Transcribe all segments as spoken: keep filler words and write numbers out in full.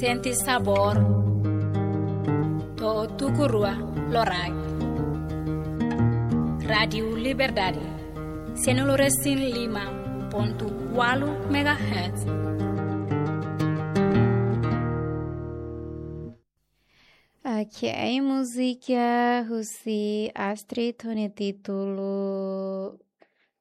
Sente sabór, to'o tuku rua loraik. Rádiu Liberdade, sianulu-resin-lima pontu ualu megahertz. Ok, múzika husi Astrid ho nia títulu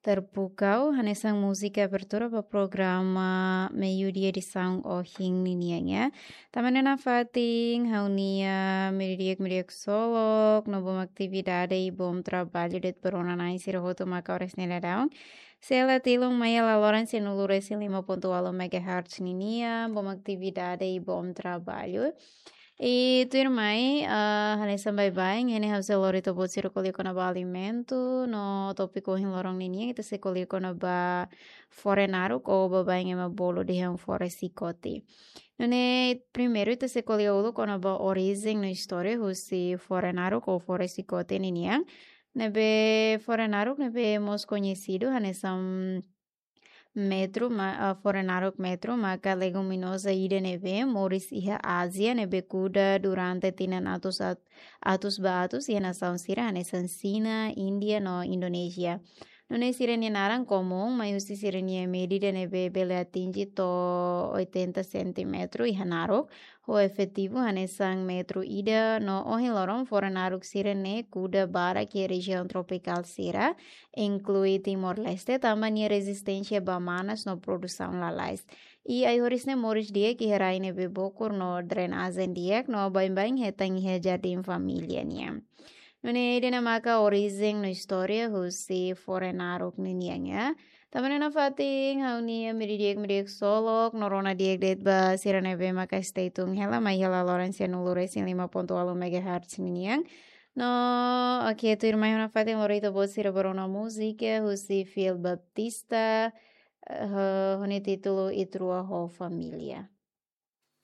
Terpukau, hanesan múzika abertura ba programa Meiudia edisaun ohin ninian ya. Tanba ne'e nafatin ha'u-nia meiudia, meiudia ksolok, no bom atividade i bom traballu de'it ba rona-na'in sira hotu maka oras ne'e daudaun. Sei la tilun mai hela loron sianulu-resin-lima pontu ualu megahertz ninian, bom atividade i bom traballu. I tuirmai, ah, hanesan baibain, ida-ne'e ha'u sei lori ita-boot sira ko'alia kona-ba alimentu, no tópiku ohin loron ninian, ita sei ko'alia kona-ba fore naruk, ou baibain ema bolu dehan fore xikote. Nune'e primeiru ita sei ko'alia uluk kona-ba orijen no istória husi fore naruk ou fore xikote ninian. Ne'ebé fore naruk ne'ebé mós koñesidu hanesan metru, ma, ah, fore naruk metru, maka leguminoza ida ne'ebé moris iha Ázia, ne'ebé kuda durante tinan atus at-, atus ba atus iha nasaun sira hanesan Xina, Índia no Indonézia. Nune'e sira-nia naran komún, mai husi sira-nia medida ne'ebé bele atinje to'o oitenta sentímetru iha naruk, ho efetivu hanesan metru ida, no ohin loron fore naruk sira-ne'e kuda barak iha rejiaun tropikál sira, inklui Timor-Leste, tanba nia rezisténsia ba manas no produsaun lalais. I ai-horis ne'e moris di'ak iha rai ne'ebé bokur no drenajen di'ak, no baibain hetan iha jardín família nian. Nune'e ida-ne'e maka orijen no istória husi fore naruk ninian ya. Tanba ne'e nafatin ha'u-nia meiudia, meiudia ksolok, no rona di'ak de'it ba sira ne'ebé maka stay tune hela, mai hela loron sianulu-resin-lima pontu ualu megahertz ninian. No, ok, tuirmai ha'u nafatin lori ita-boot sira ba rona múzika husi Fil Baptista, eh, ho, ho nia títulu Ita Rua ho Família.